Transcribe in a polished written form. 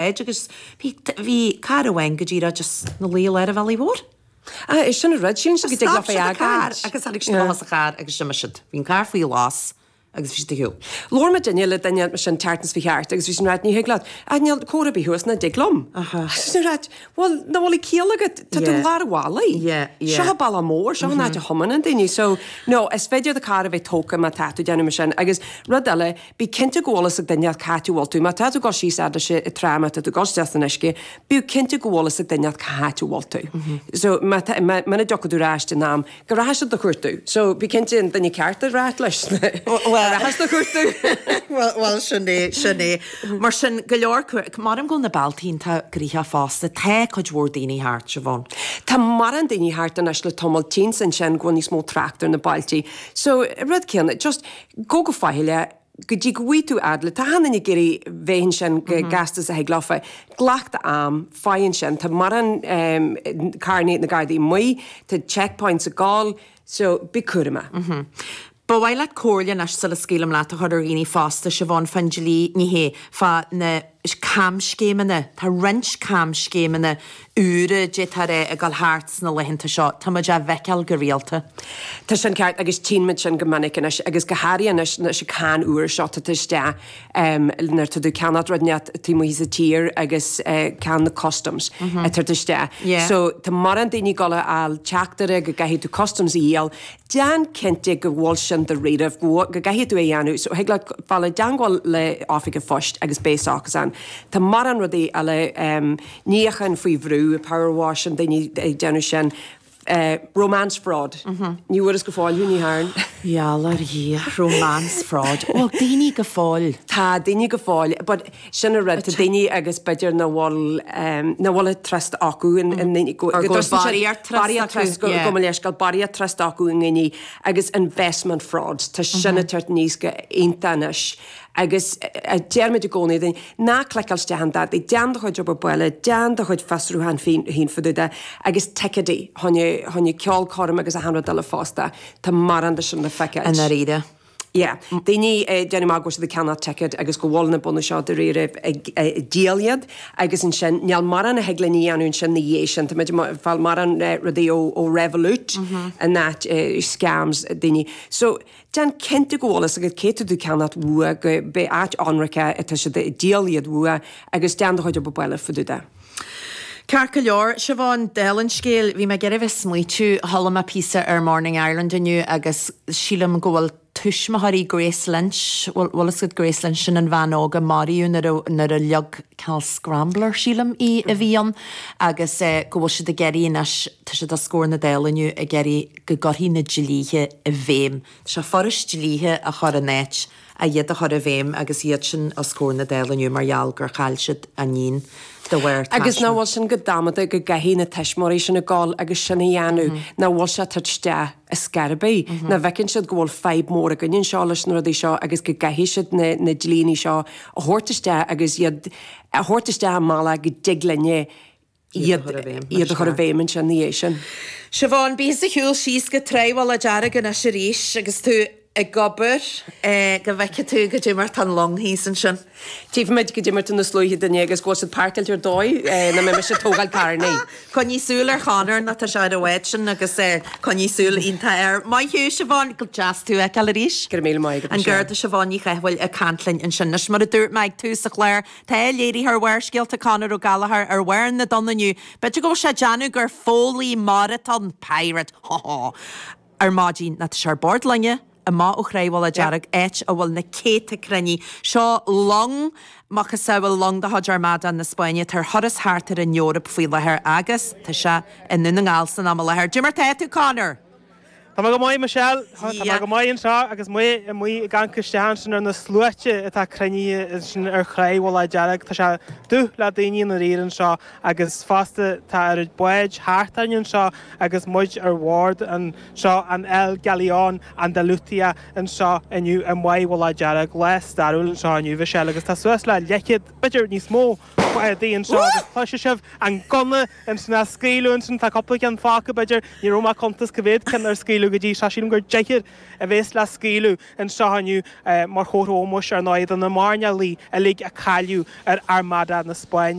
Báid agus bhí, bhí carr amháin go díreach just 'na luí i lár an bhealaigh mhóir. Ah, é sin an rud, sílim go dtig Stop leofa siad an carr fhágáint. agus tháinig siad amach as an charr agus d'imigh siad. Bhí an carr faoi ghlas agus bhí siad ar shiúl. Labhair muidinne le duine mar sin tseachtain seo chuaigh thart agus bhí sin ag ráit ní thig leat, ah níl comhartha ar bith thuas nach dtig liom. Aha. Bhí sin ag ráit, bhuel, nach bhfuil ciall agat, tá tú i Yeah. lár an bhealaigh. Yeah, yeah. Seo an bealach mór, seo an áit a thiomáineann daoine. So, no, is féidir do charr a bheith tógtha má tá tú ag déanamh mar sin. Agus rud eile, Bí cinnte go bhfuil fhios ag duine cá háit a bhfuil tú. Má tá tú ag dul síos fhad leis an trá, má tá tú ag dul isteach san uisce, bíodh cinnte go bhfuil fhios ag duine cá háit a bhfuil tú. So, má tá, má, muna dtiocfaidh tú ar ais in am, go rachaidh siad do chuartú. So, bí cinnte an duine ceart a ráit leis, go rachaidh siad do chuartú. Bhuel, bhuel, sin é, sin é. Mar sin, go leor, maram go bhfuil na bealtaí iontach gnoitheach fosta, tá cuid mhór daoine thart, Siobhán. Tá mórán daoine thart anois le tamall, tchíonn ansin go bhfuil níos mó trácht ar na bailte. So, rud céanna, just, Gabh go faichilleach go dtí go bhfaighidh tú fhad le, tá achan duine ag iarraidh bheith ansin chomh gasta is a thig leofa. Glac do am, faigh ansin, tá mórán carrannaí na Gardaí amuigh, tá checkpoints ag gabháil, so bí cúramach. Ba mhaith leat comhairle anois sula scaoilim leat a chur ar dhaoine fosta, Siobhán, fán dlí, ní hé, fá na camscéimeanna, tá roinnt camscéimeanna úra, d'fhéadfá a rá, ag dul thart sna laethanta seo. Tá muid á bhfeiceáil go rialta. Tá sin ceart agus tchíonn muid sin go minic anois agus go háirithe anois leis an cáin úr seo atá isteach nuair atá tú ag ceannacht rud inteacht taobh amuigh sa tír agus cáin na customs ag tabhairt isteach. So tá mórán daoine ag dul a fháil teachtaire go gcaithfidh tú customs a dhíol. Déan cinnte go bhfuil sin dáiríribh, go gcaithfidh tú é a dhéanamh. So thig leat fáil i dteangmháil le oifig an phoist agus beidh socas ann. Tá mórán rudaí eile, níochán faoi bhrú, power washing, daoine ag déanamh sin, romance fraud. Ní bhfuaireas go fóill thú, ní thearn. Gheall ar Dhia, romance fraud. Bhfuil daoine go fóill? Tá daoine go fóill, but Sin an rud, tá daoine agus b'fhéidir nach bhfuil, nach bhfuil trust acu i ndaoine, go Or go bhfuil barraíocht trust barraíocht trust, acu, yeah. gabh mo leithscéal, barraíocht trust acu i ndaoine agus investment fraud, tá sin ag tabhairt aníos go iontach anois agus deirimid i gcónaí daoine, ná cliceáil isteach in dadaí, déan do chuid obair baile, déan do chuid fiosrúchán féin fá dtaobh de agus ticéidí, choinne, choinne ceolchoirm agus achan rud eile fosta, tá mórán de sin le feiceáil. I ndáiríre. Yeah. Daoine ag déanamh amach go bhfuil siad ag ceannach ticket agus go bhfuil na bunadh seo dáiríre ag díol iad agus ansin níl mórán a thig linn a dhéanamh ansin na dhiaidh sin. Tá muid ag fáil mórán rudaí ó ó Revolut in áit scams daoine. So déan cinnte go bhfuil fhios agat cé tá tú ag ceannacht uaidh go beidh áit ionraice atá siad ag díol iad uaidh agus déan do chuid obair baile fá dtaobh de. Ceart go leor, Siobhán, dála an scéil, bhí mé ag iarraidh a bheith ag smaoitiú, chuala mé píosa ar Morning Ireland inniu agus sílim go bhfuil tuismitheoirí Grace Lynch, bhfuil bhfuil fhios agat Grace Lynch, sin an bhean óg a maraíodh nuair a nuair a leag cineál scrambler, sílim, í a bhí ann agus go bhfuil siad ag iarraidh anois, tá siad os comhair na Dála inniu ag iarraidh go gcuirfí na dlíthe i bhfeidhm. Tá sé furast dlíthe a chur in áit a iad a chur i bhfeidhm agus iad sin os comhair na Dála inniu mar gheall gur chaill siad a n-iníon de bharr Agus nach taisme. bhfuil sin go damanta go gcaithfidh na tuismitheoirí sin a ghabháil agus sin a dhéanamh, nach bhfuil sé ag tabhairt isteach ar scor ar bith, nach bhfeiceann siad go bhfuil fadhb mór againn anseo leis na rudaí seo agus go gcaithfidh siad na na dlíní seo a thabhairt isteach agus iad a thabhairt isteach i mbealach go dtig linne iad a chur i bhfeidhm. iad a chur i bhfeidhm ansin ina dhiaidh sin. Siobhán, bí thusa ag siúl síos go Tráigh Mhullach Dearg anois arís agus tú ag obair go bhfeicfidh tú goidé mar tá an long thíos ansin. Tífimid goidé mar tá na sluaithe duine agus go bhfuil siad páirceáilte ar dóigh nach mbeidh mise ag tógáil carrannaí. Coinnigh súil ar Chonor nó tá sé ar an bhád sin agus coinnigh súil iontach air. Maith thú Siobhán, go deas tú a fheiceáil arís. Go raibh míle maith agat An Michelle. Garda Siobhán Ní Chathmhaoil ag caint linn ansin. Anois mar a dúirt mé ag tús an chláir, Tá léiritheoir Bharrscéalta Conor Ó Gallchóir ar bharr na dtonn inniu. B'fhéidir go bhfuil sé ag déanamh gur foghlaí mara atá ann, pirate, ho ho, ar maidin. Nó tá sé ar bord loinge, amach ó Thráigh Mhullach Dearg, áit a bhfuil na céadta cruinnithe. Seo long, macasamhail long de chuid Armada na Spáinne atá ar thuras thart ar an Eoraip faoi láthair agus tá sé i nDún na nGall san am i láthair. Cad é mar tá tú, Conor? Tá mé go maith, Michelle. Tá mé go maith anseo agus mé amuigh ag amharc isteach ansin ar na sluaite atá cruinnithe ansin ar Thráigh Mhullach Dearg. Tá sé dubh le daoine i ndáiríre anseo agus fosta tá oiread báid thart orainn anseo agus muid ar bhord anseo an El Galeón Andalucía anseo inniu i Maigh Mhullach Dearg. Lá stairiúil anseo inniu, Michelle, agus tá suas le leathchéad, b'fhéidir níos mó, bádaí anseo agus cloisfidh sibh an gunna ansin á scaoileadh ansin. Tá cúpla ceann fágtha, b'fhéidir. Ní raibh mé ag cuntas cá mhéad ceann ar scaoileadh. scaoileadh go dtí seo. Sílim gur deichniúr a bhéas le scaoileadh anseo inniu mar chomhartha ómóis ar ndóigh do na mairnéalaigh uilig a cailleadh ar Armada na Spáinne.